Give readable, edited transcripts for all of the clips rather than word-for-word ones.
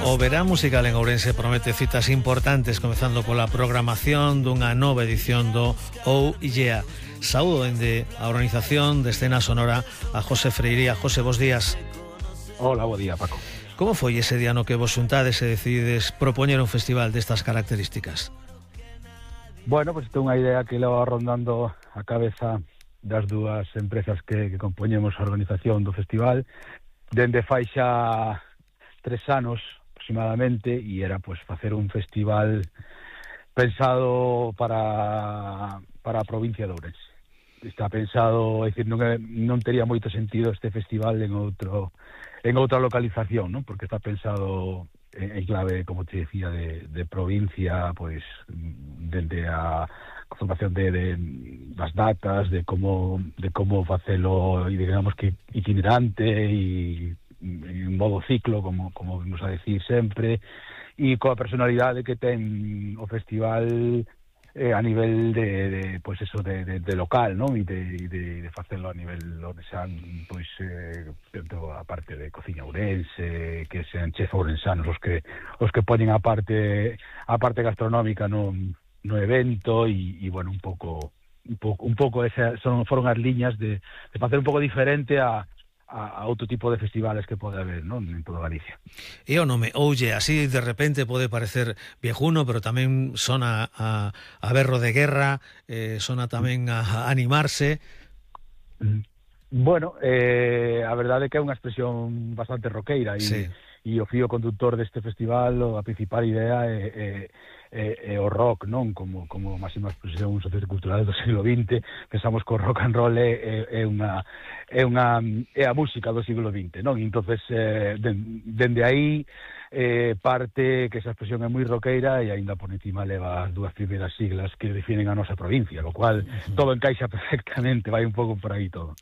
O verán musical en Ourense promete citas importantes, comezando pola programación dunha nova edición do Oh Yeah. Saúdo dende a organización de escena sonora a José Freiría. José, bos días. Hola, bo día, Paco. Como foi ese día no que vos xuntades e decidides propoñer un festival destas características? Bueno, pues tengo unha idea que leva rondando a cabeza das dúas empresas que compoñemos a organización do festival dende fai xa 3 anos aproximadamente, e era pues facer un festival pensado para a provincia de Ourense. Está pensado, é dicir, non tería moito sentido este festival en outra localización, ¿no? Porque está pensado en clave, como te decía, de provincia, pues dende a formación das datas, de como facelo, e digamos que itinerante e en modo ciclo, como vimos a decir sempre, e coa personalidade que ten o festival a nivel de pues eso de local, ¿no? E de facelo a nivel onde sean pois dentro a parte de cociña ourense, que sean chef ourensanos os que poñen a parte gastronómica no evento, e bueno, un pouco esas foron as liñas de facer un pouco diferente a outro tipo de festivales que pode haber, ¿no?, en toda Galicia. E o nome Oulle, así de repente pode parecer viejuno, pero tamén sona a berro de guerra, sona tamén a animarse. Bueno, a verdade é que é unha expresión bastante roqueira, sí. E o fío conductor deste festival, a principal idea é o rock, non? Como máxima expresión sociocultural do siglo XX. Pensamos que o rock and roll é a música do siglo XX, non? E entonces dende aí parte que esa expresión é moi roqueira, e aínda por encima leva as dúas primeiras siglas que definen a nosa provincia, lo cual todo encaixa perfectamente, vai un pouco por aí todo.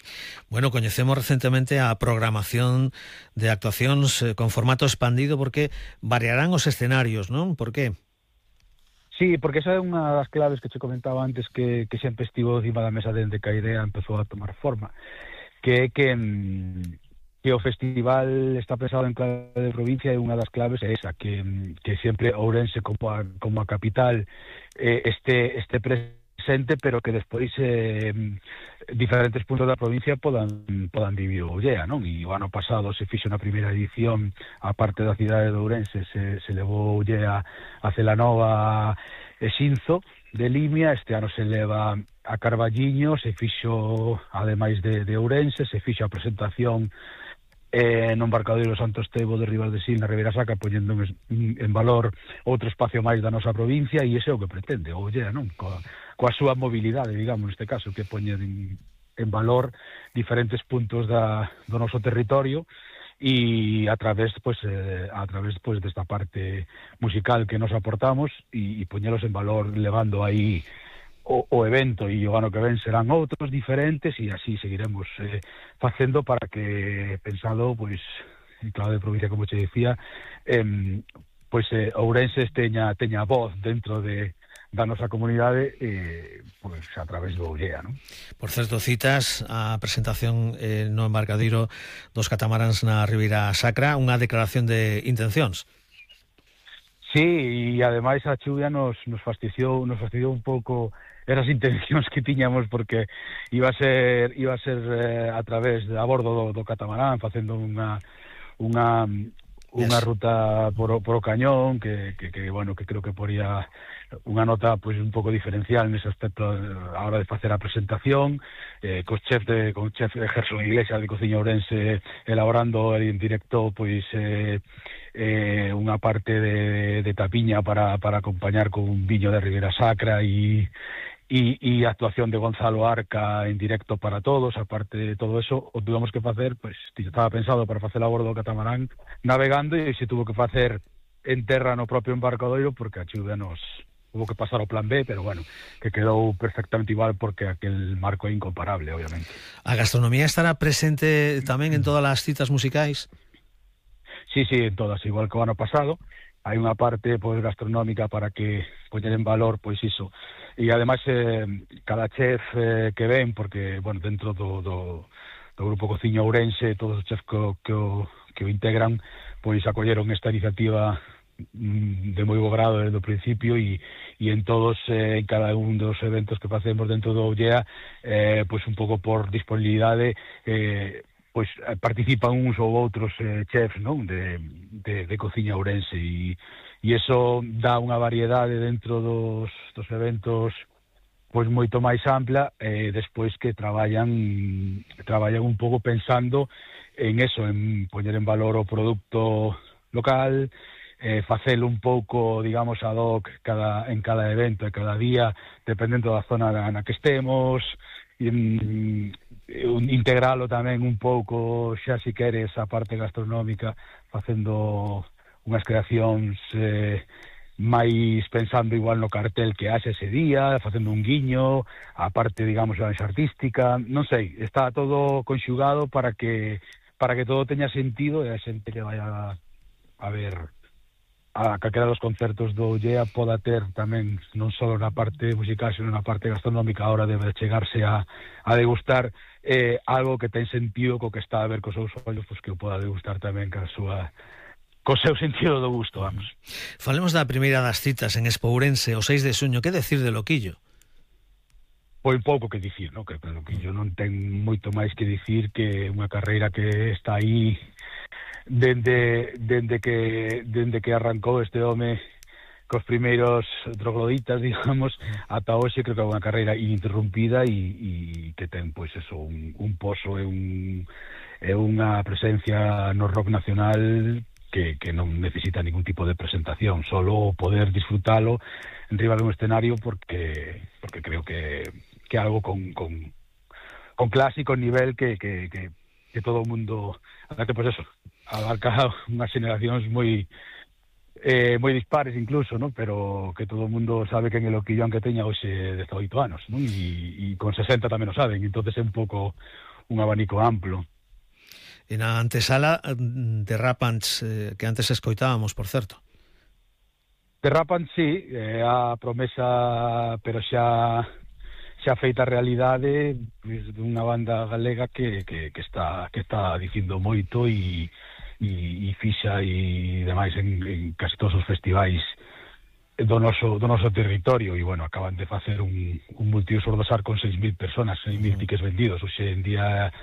Bueno, coñecemos recentemente a programación de actuacións con formato expandido, porque variarán os escenarios, non? Por que? Sí, porque esa é unha das claves que che comentaba antes, que sempre estivo encima da mesa dende que a idea empezou a tomar forma, que é que o festival está pensado en clave de provincia, e unha das claves é esa, que sempre Ourense como a capital este presente, pero que despois diferentes puntos da provincia podan vivir o Ollea, non? E o ano pasado se fixo na primeira edición, a parte da cidade de Ourense, se levou Ollea a Celanova e Xinzo de Limia. Este ano se leva a Carballiño, se fixo, ademais de Ourense, se fixo a presentación no embarcadoiro Santo Estevo de Ribas de Sil, na Ribeira Sacra, poñendo en valor outro espacio máis da nosa provincia, e ese é o que pretende o Ollea, non? Coa súa mobilidade, digamos, neste caso, que poñer en valor diferentes puntos do noso territorio, e a través desta parte musical que nos aportamos, e poñelos en valor, levando aí o evento, e o ano que ven serán outros diferentes, e así seguiremos facendo, para que, pensado, pois, en clave de provincia, como te decía, pois Ourense teña voz dentro da nosa comunidade, pois a través do Ollea, non? Por certo, citas a presentación no embarcadeiro dos catamaráns na Ribeira Sacra, unha declaración de intencións. Sí, e ademais a chuvia nos fastidiou un pouco esas intencións que tiñamos, porque iba a ser a través a bordo do catamarán, facendo unha ruta por o cañón, que bueno, que creo que poría unha nota pois un pouco diferencial nese aspecto a hora de facer a presentación, con chef Gerson Iglesias de Cociña Ourense elaborando en directo pois unha parte de tapiña para acompañar con un viño de Ribeira Sacra, e actuación de Gonzalo Arca en directo para todos. Aparte de todo eso, o tuvemos que facer, pois estaba pensado para facer a bordo do catamarán navegando, e se tuvo que facer en terra no propio embarcadoiro, porque a chuvia nos hubo que pasar ao plan B, pero bueno, que quedou perfectamente igual, porque aquel marco é incomparable, obviamente. A gastronomía estará presente tamén en todas as citas musicais? Sí, en todas, igual que o ano pasado. Hai unha parte pois gastronómica para que poñer en valor pois iso, e ademais cada chef que ven, porque bueno, dentro Grupo Cociña Ourense, todos os chefs que o integran, pois acolleron esta iniciativa de moi bo grado desde o principio e en todos, en cada un dos eventos que facemos dentro do OUYEA, pois un pouco por disponibilidade, pois participan uns ou outros chefs, non, de Cociña Ourense e iso dá unha variedade dentro dos eventos pois moito máis ampla, despois que traballan un pouco pensando en eso, en poñer en valor o produto local, facelo un pouco, digamos, ad hoc en cada evento, cada día, dependendo da zona na que estemos, integralo tamén un pouco, xa si queres, a parte gastronómica, facendo unhas creacións máis pensando igual no cartel que haxe ese día, facendo un guiño, a parte, digamos, a artística, non sei, está todo conxugado para que todo teña sentido e a xente que vaya a ver a calquera dos concertos do OUYEA poda ter tamén non só na parte musical, sino na parte gastronómica a hora de chegarse a degustar algo que ten sentido co que está a ver cos seus ollos, pois que o poda degustar tamén co seu sentido do gusto, vamos. Falemos da primeira das citas en Expo Ourense, o 6 de xuño. Que decir de Loquillo? Pois pouco que dicir, non? Que Loquillo non ten moito máis que dicir que unha carreira que está aí dende que arrancou este home cos primeiros trogloditas, digamos, ata hoxe. Creo que é unha carreira ininterrumpida e que ten, pois, eso, un poso e unha presencia no rock nacional que non necesita ningún tipo de presentación, solo poder disfrutalo en riba dun escenario porque creo que algo con clase, con nivel que todo o mundo, pues eso, abarca unhas generacións moi dispares incluso, ¿no? Pero que todo o mundo sabe que en el Loquillo, aunque teña hoxe 18 anos, ¿no? E con 60 tamén o saben, entonces é un pouco un abanico amplo. E na antesala de Rapants, que antes escoitábamos, por certo. De Rapants, sí, a promesa, pero xa feita realidade, dunha banda galega que está dicindo moito e fixa e demais en casi todos os festivais do noso territorio. E, bueno, acaban de facer un multiusos do SAR con 6.000 personas, 6.000 tickets vendidos. Hoxe en día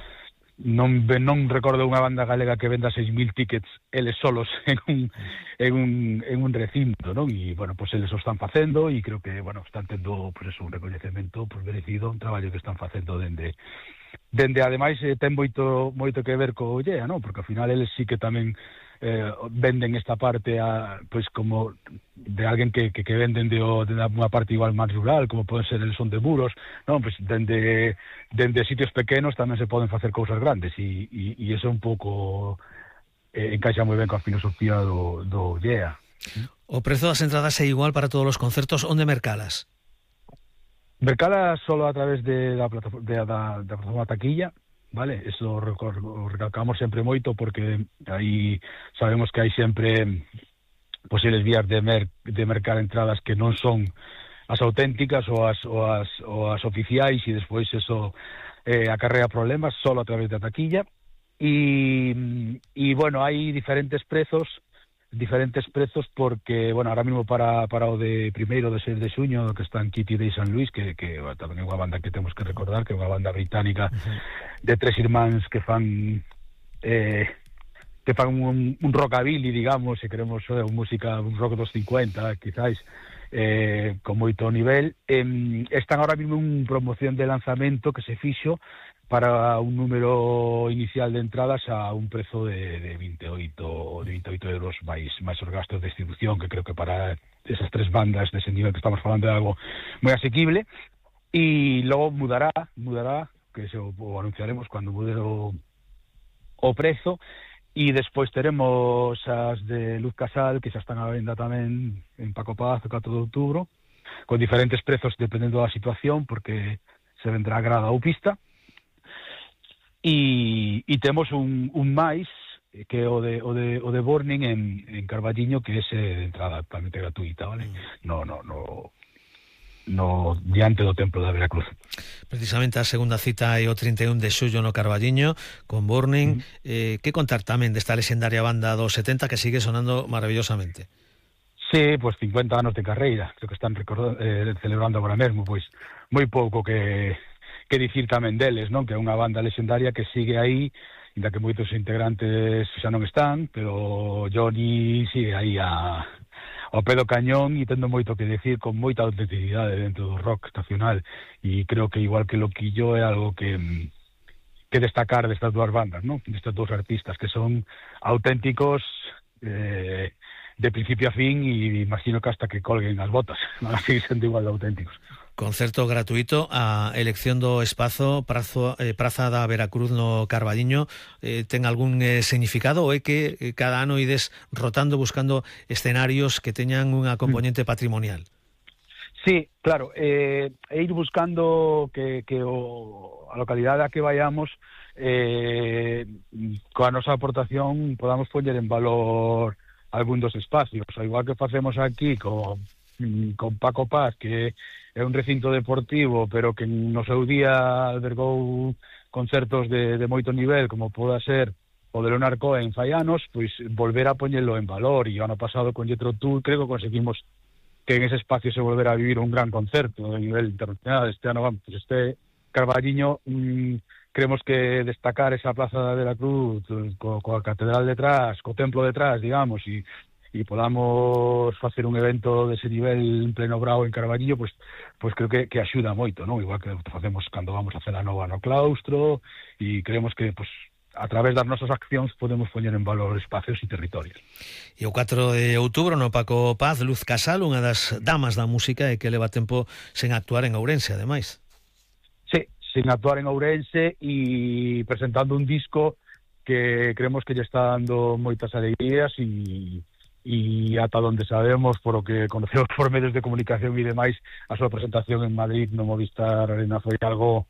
non recordo unha banda galega que venda 6.000 tickets eles solos en un recinto, non? E, bueno, pues eles o están facendo e creo que, bueno, están tendo, pues eso, un recoñecemento pues merecido, un traballo que están facendo dende ademais ten moito que ver co OUYEA, non? Porque ao final eles sí que tamén venden esta parte pois como de alguén que venden de unha parte igual máis rural, como poden ser el Son de Muros, non? Pois dende sitios pequenos tamén se poden facer cousas grandes e iso un pouco encaixa moi ben coa filosofía do OUYEA. O prezo das entradas é igual para todos os concertos. Onde mercalas? Mercalas solo a través da plataforma Taquilla, vale? Eso recalcamos sempre moito porque aí sabemos que hai sempre posibles vías de mercar entradas que non son as auténticas ou as oficiais e despois eso acarrea problemas. Solo a través da Taquilla e bueno, hai diferentes prezos porque, bueno, ahora mismo para o de primeiro de 6 de xuño que está en Kitty Day San Luis, que bueno, tamén é unha banda que temos que recordar, que é unha banda británica de tres irmáns que fan un rockabilly, digamos, se queremos música, un rock dos 50 quizáis, con moito nivel. Están ahora mismo en promoción de lanzamento que se fixo para un número inicial de entradas a un prezo de 28 euros máis os gastos de distribución, que creo que para esas tres bandas dese nivel que estamos falando é algo moi asequible. E logo mudará, que se o anunciaremos cando mude o prezo. E despois teremos as de Luz Casal, que xa están á venda tamén en Paco Paz, o 4 de outubro, con diferentes prezos dependendo da situación, porque se vendrá grada ou pista. E temos un máis, que é o de Burning en Carballiño, que é de entrada totalmente gratuita, vale? No no diante do Templo da Veracruz. Precisamente a segunda cita é o 31 de xullo no Carballiño con Burning. Que contar tamén desta lexendaria banda dos 70 que sigue sonando maravillosamente? Sí, pues 50 anos de carreira, creo que están celebrando agora mesmo, pois moi pouco que dicir tamén deles, non? Que é unha banda lexendaria que sigue aí, ainda que moitos integrantes xa non están, pero Johnny sigue aí ao pé do cañón e tendo moito que decir, con moita autenticidade dentro do rock estacional, e creo que igual que Loquillo é algo que destacar destas dúas bandas, non? Destes dous artistas que son auténticos de principio a fin, e imagino que hasta que colguen as botas van a seguir sendo igual de auténticos. Concerto gratuito, a elección do espazo Praza da Veracruz no Carballiño, ten algún significado, ou é que cada ano ides rotando buscando escenarios que teñan unha componente patrimonial? Sí, claro, e ir buscando que a localidade a que vayamos coa nosa aportación podamos poñer en valor algún dos espacios, ao igual que facemos aquí con Paco Paz, que é un recinto deportivo, pero que no seu día albergou concertos de moito nivel, como poda ser o de Leonard Cohen fai anos, pois volver a poñelo en valor. E o ano pasado con Jethro Tull creo que conseguimos que en ese espacio se volvera a vivir un gran concerto de nivel internacional. Este ano, pues este Carballiño, creemos que destacar esa Plaza da Veracruz coa catedral detrás, co templo detrás, digamos, e podamos facer un evento dese nivel en pleno brao en Carballiño, pues creo que axuda moito, non? Igual que facemos cando vamos a hacer a nova no claustro, e creemos que pues a través das nosas accións podemos poñer en valor espacios e territorios. E o 4 de outubro no Paco Paz, Luz Casal, unha das damas da música e que leva tempo sen actuar en Ourense, ademais. Sí, sin actuar en Ourense e presentando un disco que creemos que lle está dando moitas alegrías e ata onde sabemos, por o que conocemos por medios de comunicación e demais, a súa presentación en Madrid no Movistar Arena foi algo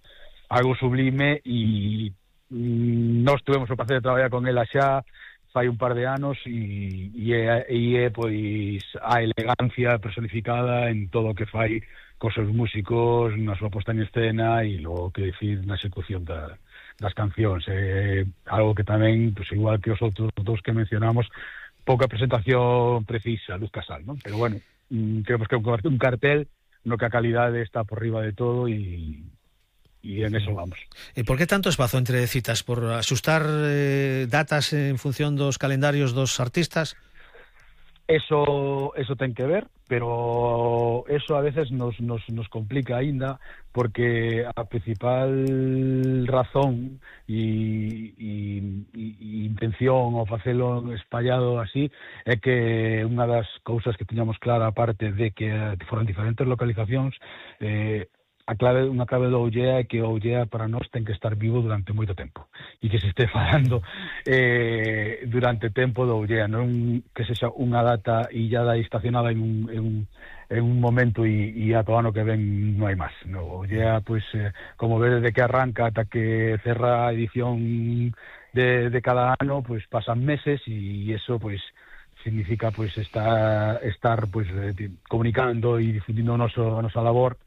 sublime, e nós tuvemos o placer de traballar con ela xa fai un par de anos e é pois a elegancia personificada en todo o que fai cos seus músicos, na súa posta en escena e logo que decir na execución das cancións. Algo que tamén, pues, igual que os outros dous que mencionamos, pouca presentación precisa, Luz Casal, non? Pero bueno, creemos que é un cartel no que a calidade está por riba de todo e en eso vamos. E por que tanto espazo entre citas? Por asustar datas en función dos calendarios dos artistas? Eso ten que ver, pero eso a veces nos complica aínda, porque a principal razón e intención ao facelo espallado así é que unha das cousas que tiñamos clara, aparte de que foran diferentes localizacións, unha clave do Ollea é que o Ollea para nós ten que estar vivo durante moito tempo e que se este falando durante tempo do Ollea, non que sexa unha data illada e estacionada en un momento e ata o ano que ven non hai máis. No Ollea, pois, como vedes, de que arranca ata que cerra a edición de cada ano, pois pasan meses, e eso pois significa pois estar pois comunicando e difundindo a nosa labor